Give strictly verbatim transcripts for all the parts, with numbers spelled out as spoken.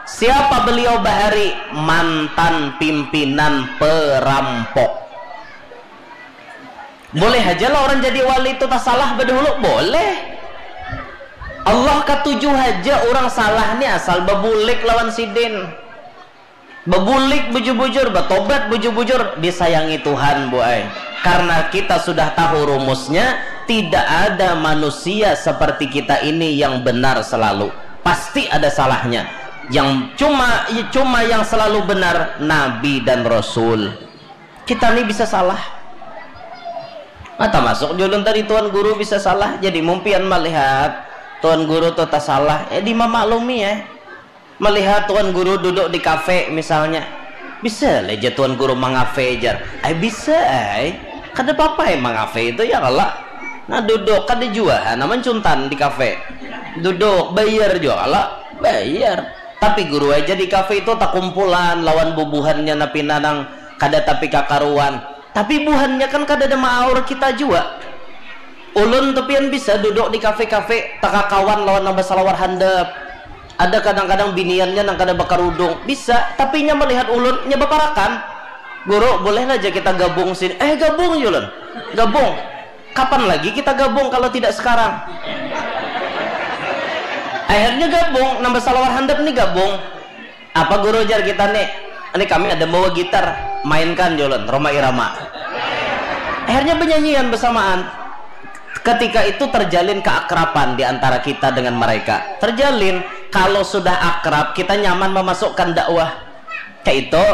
Siapa beliau bahari? Mantan pimpinan perampok. Boleh aja lah orang jadi wali itu tasalah badahulu, boleh. Allah katuju haja orang salah ni asal babulik lawan sidin. Babulik bujur-bujur, batobat bujur-bujur, disayangi Tuhan, Bu ai. Karena kita sudah tahu rumusnya, tidak ada manusia seperti kita ini yang benar selalu. Pasti ada salahnya. Yang cuma cuma yang selalu benar Nabi dan Rasul. Kita ni bisa salah. Nah, termasuk julun tadi Tuan Guru bisa salah. Jadi mumpian melihat Tuan Guru tu tasalah, ya dimamaklumi ya. Melihat Tuan Guru duduk di kafe misalnya, bisa lah ja Tuan Guru mangafe jar. Ai bisa ai. Kada papa ai mangafe itu ya kalo. Nah duduk kada jua ha, naman cuntan di kafe. Duduk bayar jua kalo. Bayar. Tapi guru aja di kafe itu takumpulan lawan bubuhannya napina nang kada tapi kakaruan. Tapi buhannya kan kadada maaur kita jua. Ulun tu pian bisa duduk di kafe-kafe takakawan lawan nang basalawar handap. Ada kadang-kadang biniannya nang kada bakarudung, bisa, tapi inya melihat ulun, inya baparakan. Guru, boleh lah ja kita gabung sini. Eh, gabung jar ulun. Gabung. Kapan lagi kita gabung kalau tidak sekarang? Akhirnya gabung, nang basalawar handap ni gabung. Apa guru jar kita nih? Ini kami ada bawa gitar, mainkan jar ulun, Rhoma Irama. Akhirnya benyanyian bersamaan. Ketika itu terjalin keakraban di antara kita dengan mereka. Terjalin, kalau sudah akrab, kita nyaman memasukkan dakwah. Kayak itu.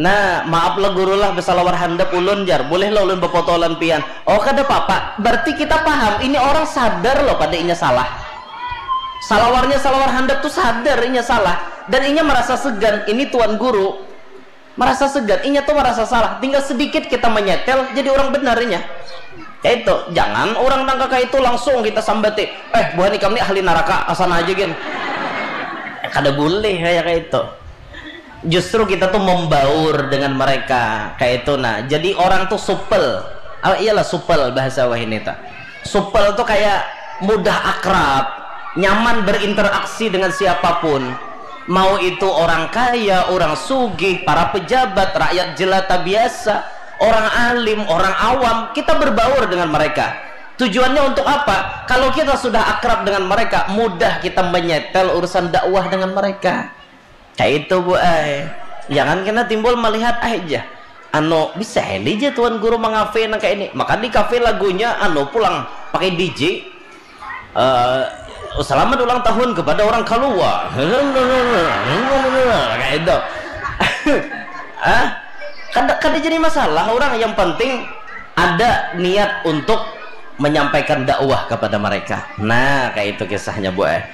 Nah, maaf lah guru lah besalawar handap ulun jar. Boleh lah ulun bepotolan pian. Oh, kada apa-apa. Berarti kita paham, ini orang sadar loh pada inya salah. Salawarnya salawar handap tuh sadar inya salah dan inya merasa segan. Ini tuan guru merasa segan, inya tuh merasa salah. Tinggal sedikit kita menyetel jadi orang benar inya. Kayak itu, jangan orang nang kaka itu langsung kita sambati. Eh, buhan ikam ni ahli naraka, asana aja gin. Kada boleh kayak kayak itu. Justru kita tuh membaur dengan mereka kayak itu. Nah, jadi orang tuh supel. Ah, iyalah supel bahasa wahini ta. Supel tuh kayak mudah akrab, nyaman berinteraksi dengan siapapun. Mau itu orang kaya, orang sugih, para pejabat, rakyat jelata biasa, orang alim, orang awam, kita berbaur dengan mereka. Tujuannya untuk apa? Kalau kita sudah akrab dengan mereka, mudah kita menyetel urusan dakwah dengan mereka. Kayak itu, Bu ai. Jangan kena timbul melihat aja. Anu, bisa heli aja tuan guru mengafe nang kayak ini. Maka di kafe lagunya anu pulang pakai D J. Eh, selamat ulang tahun kepada orang kalua. Kayak itu. Ah, kada kada jadi masalah orang, yang penting ada niat untuk menyampaikan dakwah kepada mereka. Nah, kayak itu kisahnya, Bu ai.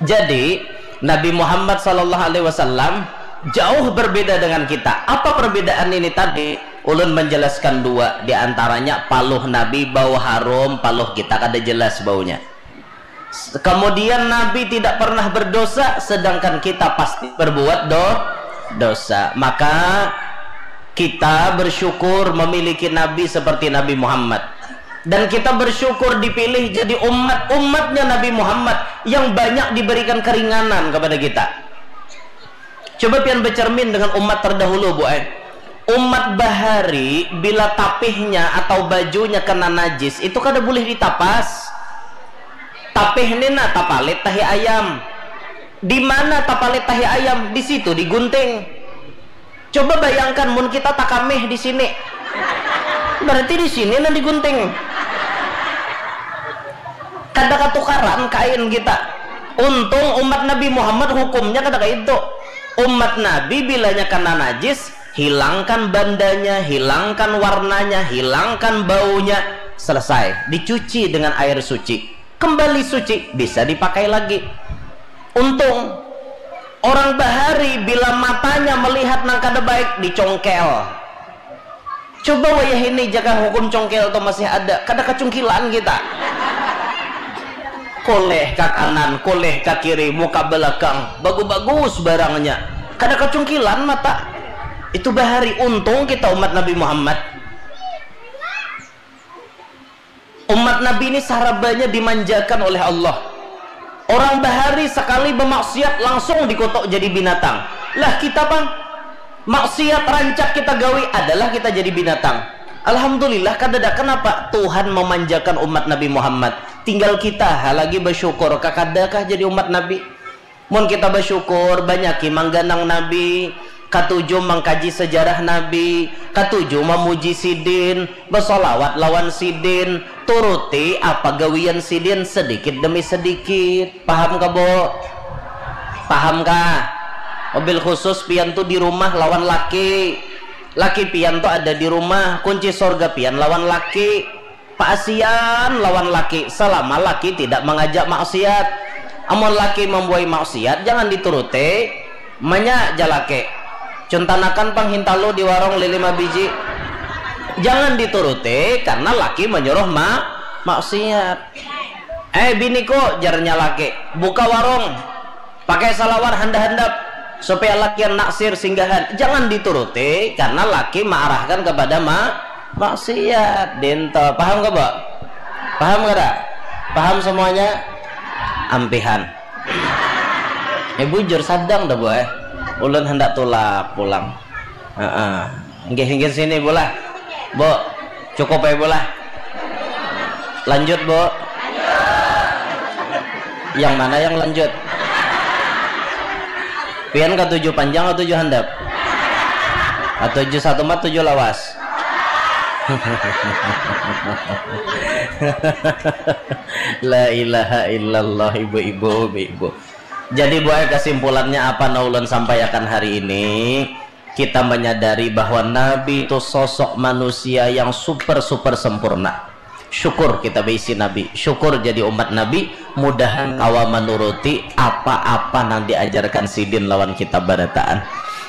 Jadi Nabi Muhammad sallallahu alaihi wasallam jauh berbeda dengan kita. Apa perbedaan ini tadi? Ulun menjelaskan dua, di antaranya paluh Nabi bau harum, paluh kita kada jelas baunya. Kemudian Nabi tidak pernah berdosa, sedangkan kita pasti berbuat do dosa. Maka kita bersyukur memiliki Nabi seperti Nabi Muhammad. Dan kita bersyukur dipilih jadi umat-umatnya Nabi Muhammad yang banyak diberikan keringanan kepada kita. Coba pian bercermin dengan umat terdahulu, Bu ai. Umat bahari bila tapihnya atau bajunya kena najis itu kada boleh ditapas. Tapih ni nah tapalit tahi ayam. Di mana tapalit tahi ayam? Di situ digunting. Coba bayangkan mun kita takamih di sini. Berarti di sini nang digunting. Kada katukaran kain kita. Untung umat Nabi Muhammad hukumnya kada kayak itu. Umat Nabi bilanya kena najis, hilangkan bandanya, hilangkan warnanya, hilangkan baunya, selesai, dicuci dengan air suci. Kembali suci, bisa dipakai lagi. Untung orang bahari bila matanya melihat nang kada baik dicongkel. Coba wayah ini jaka hukum congkel tu masih ada, kada kacungkilan kita. Koleh ka kanan, koleh ka kiri, muka belakang, bagus-bagus barangnya. Kada kacungkilan mata. Itu bahari untung kita umat Nabi Muhammad. Umat Nabi ini sarabanya dimanjakan oleh Allah. Orang bahari sakali bamaksiat langsung dikutuk jadi binatang. Lah kita pang, maksiat rancak kita gawi adalah kita jadi binatang. Alhamdulillah kadada, kenapa Tuhan memanjakan umat Nabi Muhammad. Tinggal kita ha lagi basyukur, kakadakah jadi umat Nabi. Mun kita basyukur, banyaki mangganang Nabi, katuju mangkaji sejarah Nabi, katuju mamuji sidin, basolawat lawan sidin, turuti apa gawian sidin sedikit demi sedikit. Paham kah, Bu? Paham kah? Mobil khusus pian tu di rumah lawan laki. Laki pian tu ada di rumah, kunci sorga pian lawan laki. Paasian lawan laki selama laki tidak mangajak maksiat. Amun laki mambuai maksiat, jangan dituruti. Manya jalaki, cuntanakan pang hintalu di warung lilima biji. Jangan dituruti karena laki manyuruh ma maksiat. Eh biniku, jarnya laki, buka warung. Pakai salawar handap-handap supaya lakian naksir singgahan. Jangan dituruti karena laki maarahkan kepada ma maksiat. Dinto. Paham ke, Bu? Paham kada? Paham semuanya? Ampihan. Eh bujur sadang dah, Bu, eh. Ulun hendak tulak pulang. Heeh. Inggih, inggih sini, Bu lah. Bu, cukup ya, Bu lah. Lanjut, Bu. Yang mana yang lanjut? Pian katuju panjang, katuju handap? Katuju satumat, tuju lawas? La ilaha illallah, ibu-ibu, ibu-ibu. Jadi, buai, kesimpulannya apa nang ulun sampaiakan hari ini? Kita menyadari bahwa Nabi itu sosok manusia yang super-super sempurna. Syukur kita beisi Nabi, syukur jadi umat Nabi, mudahan kawa manuruti apa-apa nang diajarkan sidin lawan kita barataan.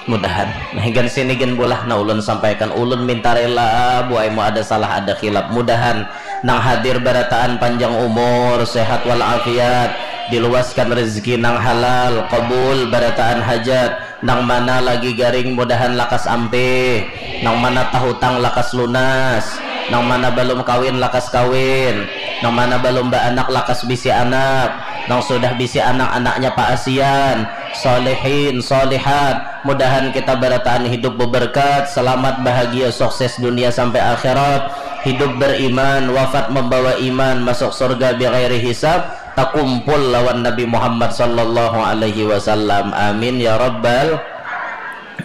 Mudahan. Nah, higan sini gin bulah, nah, ulun sampaikan, ulun minta rela, buai, mau ada salah, ada khilaf. Mudahan nang hadir barataan panjang umur, sehat walafiat, diluaskan rezeki nang halal, kabul barataan hajat. Nang mana lagi garing mudahan lakas ampih, nang mana tahutang lakas lunas, nang mana balum kawin lakas kawin, nang mana balum baanak lakas bisi anak, nang sudah bisi anak, anaknya paasian, solehin, solehat. Mudahan kita barataan hidup beberkat, selamat, bahagia, sukses dunia sampai akhirat, hidup beriman, wafat membawa iman, masuk surga bighairi hisab, takumpul lawan Nabi Muhammad sallallahu alaihi wasallam. Amin ya rabbal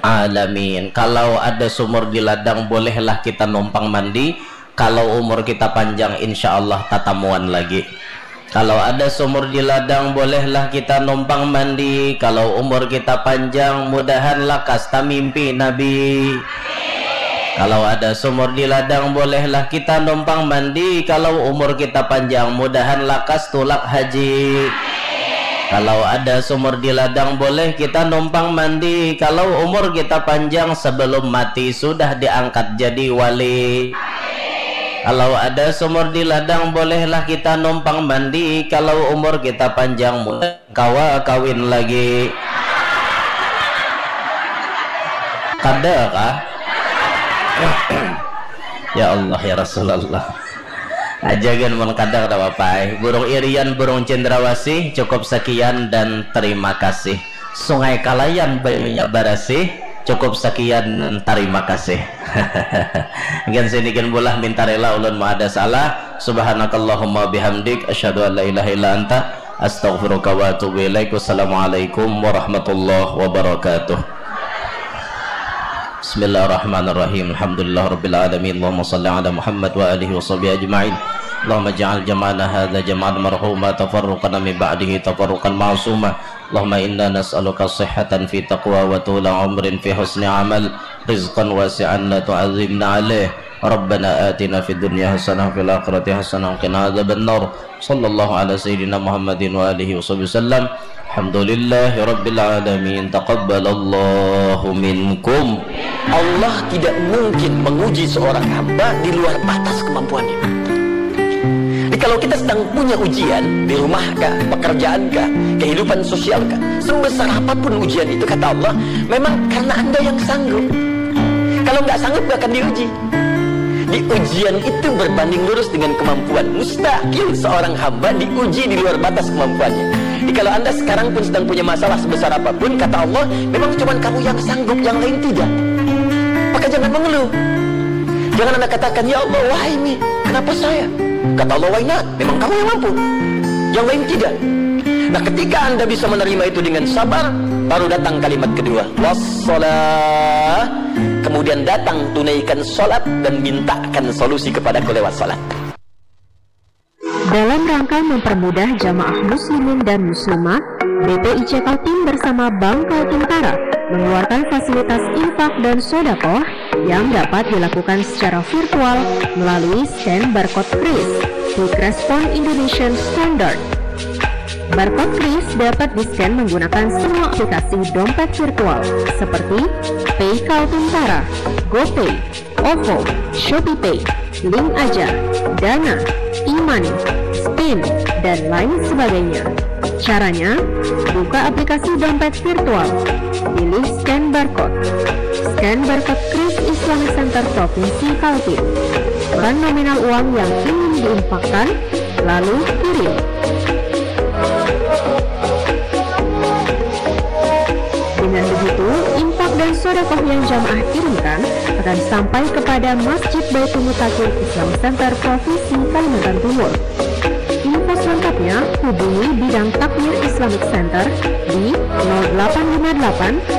alamin. Kalau ada sumur di ladang, bolehlah kita numpang mandi. Kalau umur kita panjang, insya Allah tatamuan lagi. Kalau ada sumur di ladang, bolehlah kita numpang mandi. Kalau umur kita panjang, mudahan lakas tamimpi Nabi. Kalau ada sumur di ladang, bolehlah kita numpang mandi. Kalau umur kita panjang, mudahan lakas tulak haji. Kalau ada sumur di ladang, boleh kita numpang mandi. Kalau umur kita panjang, sebelum mati sudah diangkat jadi wali. Kalau ada sumur di ladang, bolehlah kita numpang mandi. Kalau umur kita panjang, mudah kawa kawin lagi. Kada kah? Ya Allah, ya Rasulullah. Aja gin mun kada, kada apa-apa ai. Burung irian, burung cendrawasih, cukup sekian dan terima kasih. Sungai Kalayan, banyunya barasih, cukup sekian dan terima kasih. Gin sini gin bulah, minta rela ulun mau ada salah. Subhanakallahumma bihamdik, asyhadu an la ilaha illa anta, astaghfiruka wa atubu ilaik. Wassalamualaikum warahmatullahi wabarakatuh. Bismillahirrahmanirrahim. Alhamdulillah rabbil alamin. Allahumma salli ala Muhammad wa alihi wa sahbihi ajma'in. Allahumma ja'al jama'ana hadza jama'an marhuma, tafarruqana min ba'dihi tafarruqan ma'suma. Allahumma inna nas'aluka sihhatan fi taqwa wa tula umrin fi husni amal, rizqan wasi'an la tu'adzibna alaih. Rabbana atina fid dunya hasanah wa fil akhirati hasanah wa qina adzabannar. Sallallahu ala sayyidina Muhammadin wa alihi wa sahbihi wasallam. Alhamdulillahi rabbil alamin. Taqabbalallahu minkum. Allah tidak mungkin menguji seorang hamba di luar batas kemampuannya. Jadi kalau kita sedang punya ujian di rumah kah, pekerjaan kah, kehidupan sosial kah, sebesar apapun ujian itu, kata Allah, memang karena Anda yang sanggup. Kalau nggak sanggup, nggak akan diuji. Di ujian itu berbanding lurus dengan kemampuan. Mustahil seorang hamba diuji di luar batas kemampuannya. Kalau Anda sekarang pun sedang punya masalah sebesar apapun, kata Allah, memang cuma kamu yang sanggup, yang lain tidak. Maka jangan mengeluh. Jangan Anda katakan, "Ya Allah, why me? Kenapa saya?" Kata Allah, "Why not? Memang kamu yang mampu. Yang lain tidak." Nah, ketika Anda bisa menerima itu dengan sabar, baru datang kalimat kedua, "Wassalah." Kemudian datang, tunaikan salat dan mintakan solusi kepadaku lewat salat. Dalam rangka mempermudah jamaah muslimin dan muslimah, B P I C Kaltim bersama Bank Kaltim Tara mengeluarkan fasilitas infak dan sodakoh yang dapat dilakukan secara virtual melalui scan barcode kris, Quick Response Indonesian Standard. Barcode kris dapat di-scan menggunakan semua aplikasi dompet virtual seperti Pay Kaltim Tara, GoPay, OVO, ShopeePay, Link Aja, Dana, e-money, Spin, dan lain sebagainya. Caranya, buka aplikasi dompet virtual, pilih scan barcode. Scan barcode kris Islamic Center Provinsi Kaltim. Ukuran nominal uang yang ingin diinfakkan, lalu kirim. Dengan begitu, infak dan sodakoh yang jamaah kirimkan akan sampai kepada Masjid Baitul Mutakin Islamic Center Provinsi Kalimantan Timur. Info selengkapnya hubungi bidang takmir Islamic Center di nol delapan lima delapan